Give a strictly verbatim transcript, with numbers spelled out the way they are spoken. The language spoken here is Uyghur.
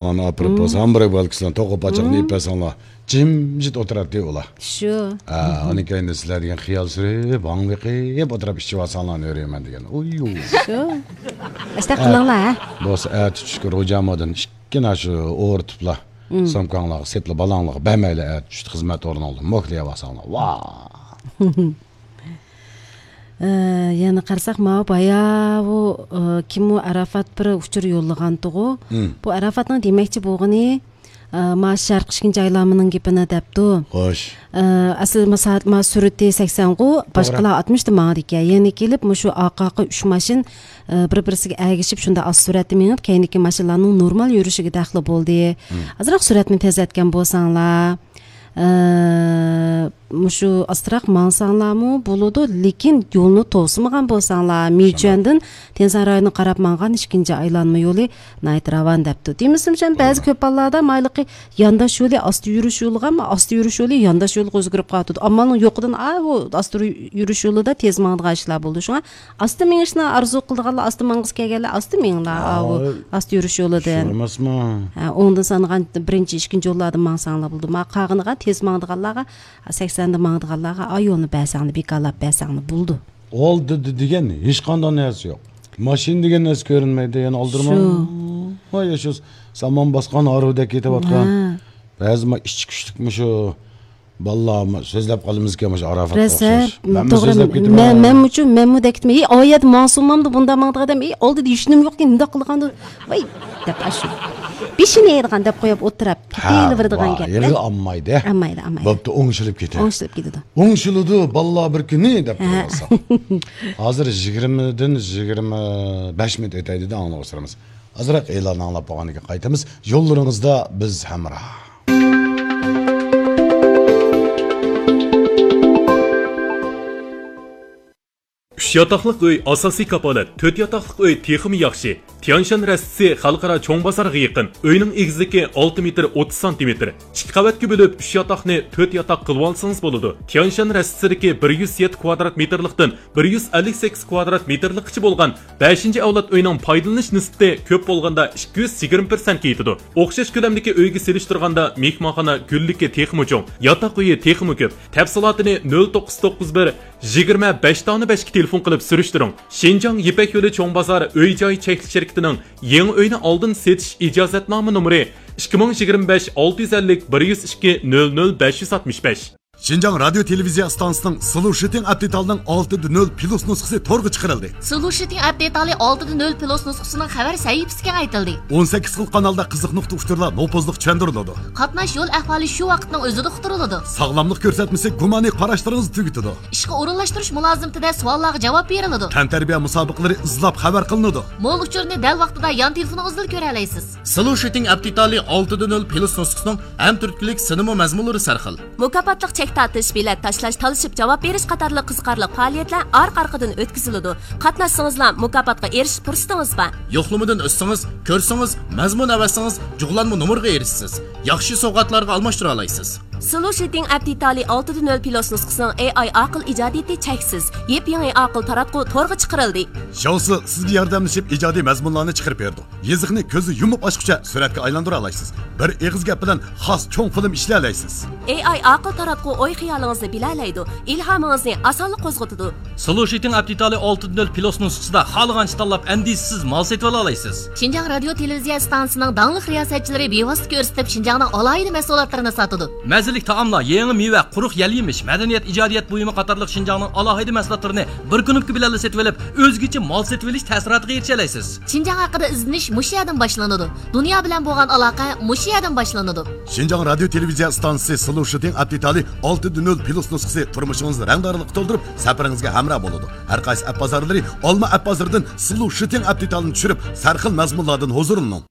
ئاپىرىپ بولسا، ھامبۇرگ بولكىسىنى توقۇپ پاچاقنى ئېلىپ بەرسەڭلار، جىمجىت ئولتۇراتتى ئۇلار. شۇ. ھە، ئاندىن كېيىن سىلەر دېگەن خىيال سۈرۈپ، ھاڭ بېقىپ ئولتۇرۇپ ئىچىۋالساڭلار نۆرىيىمەن دېگەن. ئۇيۇ. شۇ. ئاشۇنداق قىلىڭلار، ھە. بولسا ئەتە چۈشكە روجامۇدىن ئىككىنا شۇ ئورتۇپلا، سومكاڭلارغا سېتىلا، بالاڭلارغا بەرمەيلى، ئەتە چۈشتە خىزمەت ئورنۇڭدىن موكلىيىۋالساڭلار. ۋاھ! ئە، يەنە قارىساق، ماۋۇ باياۋۇ، ئە، كىم ئۇ، ئاراپات بىر ئۇچۇر يوللىغانتىغۇ. بۇ ئاراپاتنىڭ دېمەكچى بولغىنى، ئە، ما شەرقىي ئىككىنچى ئايلانمىنىڭ گېپىنى دەپتۇ. خوش. ئە، ئەسلى ما سائەت، ما سۈرئىتى سەكسەنغۇ، باشقىلار ئاتمىشتا ماڭىدىكەن. يەنە كېلىپ مۇشۇ ئارقا ئارقا ئۈچ ماشىنا، ئە، بىر بىرسىگە ئەگىشىپ شۇنداق ئاز سۈرئەتتە مېڭىپ، كەينىدىكى ماشىنىلارنىڭ نورمال يۈرۈشىگە دەخلى بولدى. ئازراق سۈرئەتنى تېزلەتكەن بولساڭلار. ئە، مۇشۇ ئاستىراق ماڭساڭلارمۇ بولىدۇ، لېكىن يولنى توسىمىغان بولساڭلار، مىچۈەندىن تيەنشان رايونىغا قاراپ ماڭغان ئىككىنچى ئايلانما يولى ناھايىتى راۋان دەپتۇ. دېمىسىمۇ، بەزى كۆپ ھاللاردا مايلىقى يانداش يولى، ئاستا يۈرۈش يولىغا، ئاستا يۈرۈش يولى يانداش يولغا ئۆزگىرىپ قالىدۇ. ئامالنىڭ يوقىدىن، ئا، ئۇ ئاستا يۈرۈش يولىدا تېز ماڭىدىغان ئىشلار بولىدۇ. شۇڭا ئاستا مېڭىشنى ئارزۇ قىلىدىغانلار، ئاستا ماڭغۇسى كەلگەنلەر ئاستا مېڭىڭلار، ئاۋۇ ئاستا يۈرۈش يولىدىن. شۇ ئەمەسمۇ؟ ھە، ئوڭدىن سانىغان بىرىنچى، ئىككىنچى يوللاردىن ماڭساڭلار بولىدۇ. ما قالغىنىغا تېز ماڭىدىغانلارغا، سەكسەندە ماڭىدىغانلارغا ئا يولنى بەرسەڭلار، بىكارلاپ بەرسەڭلار بولىدۇ. ئالدىدا دېگەن ھېچقانداق نەرسە يوق. ماشىنا دېگەن نەرسە كۆرۈنمەيدۇ، يەنە ئالدىرىماي. شۇ. ۋاي، شۇ سامان باسقان ھارۋىدەك كېتىۋاتقان. ھە. بەزى ما ئىچى كۈچلۈكمۇ شۇ. بالىلار سۆزلەپ قالىمىزكەن مۇشۇ ئاراپاتقا ئوخشاش. مەنمۇ توغرا، سۆزلەپ كېتىمەن. مەن، مەنمۇچۇ، مەنمۇ دەپ كېتىمەن. ئى، ئا يەردە ماڭسۇنمامدۇ بۇنداق ماڭىدىغان ئادەم. ئى، ئالدىدا ھېچنېمە يوقكەن، مۇنداق قىلغاندۇ. ۋاي، دەپ ئاشۇ. بېشىنى يەيدىغان دەپ قويۇپ ئولتۇرۇپ كېتىۋېرىدىغان گەپلەر. ھېلىغا ئالمايدۇ. ئالمايدۇ، ئالمايدۇ. بوپتۇ، ئوڭشىلىپ كېتىدۇ. ئوڭشىلىپ كېتىدۇ. ئوڭشىلىدۇ، بالىلار بىر كۈنى دەپ تۇرۇۋالسا. ھازىر يىگىرمىدىن يىگىرمە بەش مىنۇت ئۆتەي دېدى، ئاڭلىغۇچىلىرىمىز. ئازراق ئېلاننى ئاڭلاپ بولغاندىن كېيىن قايتىمىز. يوللىرىڭىزدا بىز ھەمراھ. ئۈچ ياتاقلىق ئۆي ئاساسىي كاپالەت، تۆت ياتاقلىق ئۆي تېخىمۇ ياخشى. تيانشان رەستىسى خەلقئارا چوڭ بازارغا يېقىن. ئۆينىڭ ئېگىزلىكى ئالتە مېتىر ئوتتۇز سانتىمېتىر. ئىككى قەۋەتكە بۆلۈپ، ئۈچ ياتاقنى تۆت ياتاق قىلىۋالسىڭىز بولىدۇ. تيانشان رەستىسىدىكى بىر يۈز يەتتە كۋادرات مېتىرلىقتىن بىر يۈز ئەللىك سەككىز كۋادرات مېتىرلىققىچە بولغان بەشىنچى ئەۋلاد ئۆينىڭ پايدىلىنىش نىسبىتى كۆپ بولغاندا ئىككى يۈز يىگىرمە پىرسەنتكە يېتىدۇ. ئوخشاش كۆلەمدىكى ئۆيگە سېلىشتۇرغاندا، مېھمانخانا گۈللۈكى تېخىمۇ چوڭ، ياتاق ئۆيى تېخىمۇ كۆپ. تەپسىلاتىنى نۆل توققۇز توققۇز بىر، يىگىرمە بەش تاڭنى بەشكە تېلېفون قىلىپ سۈرۈشتۈرۈڭ. شىنجاڭ يىپەك يولى چوڭ بازار ئۆي جاي چەكلىك شىركىتىنىڭ يېڭى ئۆينى ئالدىن سېتىش ئىجازەتنامە نومۇرى ئىككى مىڭ يىگىرمە بەش، ئالتە يۈز ئەللىك، بىر يۈز ئىككى، نۆل نۆل، بەش يۈز ئاتمىش بەش. شىنجاڭ رادىيو تېلېۋىزىيە ئىستانسىسىنىڭ سلوشىتىڭ ئەپ دېتالىنىڭ ئالتە دە نۆل پلۇس نۇسخىسى تورغا چىقىرىلدى. سلوشىتىڭ ئەپ دېتالى ئالتە دە نۆل پلۇس نۇسخىسىنىڭ خەۋەر سەھىپىسى كېڭەيتىلدى. ئون سەككىز خىل قانالدا قىزىق نۇقتا ئۇچۇرلار نوپۇزلۇق چۈشەندۈرۈلىدۇ. قاتناش يول ئەھۋالى شۇ ۋاقىتنىڭ ئۆزىدە ئۇقتۇرۇلىدۇ. ساغلاملىق كۆرسەتمىسى گۇمانىي قاراشلىرىڭىزنى تۈگىتىدۇ. ئىشقا ئورۇنلاشتۇرۇش مۇلازىمىتىدە سوئاللارغا جاۋاب بېرىلىدۇ. تەنتەربىيە مۇسابىقىلىرى ئىزلاپ خەۋەر قىلىنىدۇ. مول ئۇچۇرنى دەل ۋاقتىدا يان تېلېفونىڭىزدىلا كۆرەلەيسىز. سلوشىتىڭ ئەپ دېتالى ئالتە دە نۆل پلۇس نۇسخىسىنىڭ ھەم تۈرتكىلىك سىنىمۇ مەزمۇنلىرى سەرخىل. مۇكاپاتلىق چەك تارتىش، بېلەت تاشلاش، تالىشىپ جاۋاب بېرىش قاتارلىق قىزىقارلىق پائالىيەتلەر ئارقا-ئارقىدىن ئۆتكۈزۈلىدۇ. قاتناشسىڭىزلا مۇكاپاتقا ئېرىشىش پۇرسىتىڭىز بار. يوقلىمىدىن ئۆتسىڭىز، كۆرسىڭىز، مەزمۇن ئەۋەتسىڭىز، جۇغلانما نومۇرغا ئېرىشىسىز. ياخشى سوۋغاتلارغا ئالماشتۇرالايسىز. سلوشىتىڭ ئەپ دېتالى ئالتە دە نۆل پلۇس نۇسخىسىنىڭ ئېي ئاي ئاقىل ئىجادىيىتى چەكسىز. يېپيېڭى ئاقىل تاراتقۇ تورغا چىقىرىلدى. شاۋسى سىزگە ياردەملىشىپ ئىجادىي مەزمۇنلارنى چىقىرىپ بېرىدۇ. يېزىقنى كۆزنى يۇمۇپ ئاچقۇچە سۈرەتكە ئايلاندۇرالايسىز. بىر ئېغىز گەپ بىلەن خاس چوڭ فىلىم ئىشلىيەلەيسىز. ئېي ئاي ئاقىل تاراتقۇ ئوي خىيالىڭىزنى بىلەلەيدۇ، ئىلھامىڭىزنى ئاسانلا قوزغىتىدۇ. سلوشىتىڭ ئەپ دېتالى ئالتە دە نۆل پلۇس نۇسخىسىدا خالىغانچە تاللاپ ئەندىشىسىز مال سېتىۋالالايسىز. شىنجاڭ رادىيو تېلېۋىزىيە ئىستانسىسىنىڭ داڭلىق رىياسەتچىلىرى بىۋاسىتە كۆرسىتىپ شىنجاڭنىڭ ئالاھىدە مەھسۇلاتلىرىنى ساتىدۇ. مەززىلىك تائاملار، يېڭى مېۋە، قۇرۇق يەل يېمىش، مەدەنىيەت، ئىجادىيەت بۇيۇمى قاتارلىق شىنجاڭنىڭ ئالاھىدە مەھسۇلاتلىرىنى بىر كۇنۇپكا بىلەنلا سېتىۋېلىپ، ئۆزگىچە مال سېتىۋېلىش تەسىراتىغا ئېرىشەلەيسىز. شىنجاڭ ھەققىدە ئىزدىنىش مۇشۇ يەردىن باشلىنىدۇ. دۇنيا بىلەن بولغان ئالاقە مۇشۇ يەردىن باشلىنىدۇ. شىنجاڭ رادىيو تېلېۋىزىيە ئىستانسىسى سلوشىتىڭ ئەپ دېتالى ئالتە دە نۆل پلۇس نۇسخىسى تۇرمۇشىڭىزنى رەڭدارلىققا تولدۇرۇپ، سەپىرىڭىزگە ھەمراھ بولىدۇ. ھەر قايسى ئەپ بازارلىرى، ئالما ئەپ بازىرىدىن سلوشىتىڭ ئەپ دېتالىنى چۈشۈرۈپ، سەرخىل مەزمۇنلاردىن ھۇزۇرلىنىڭ.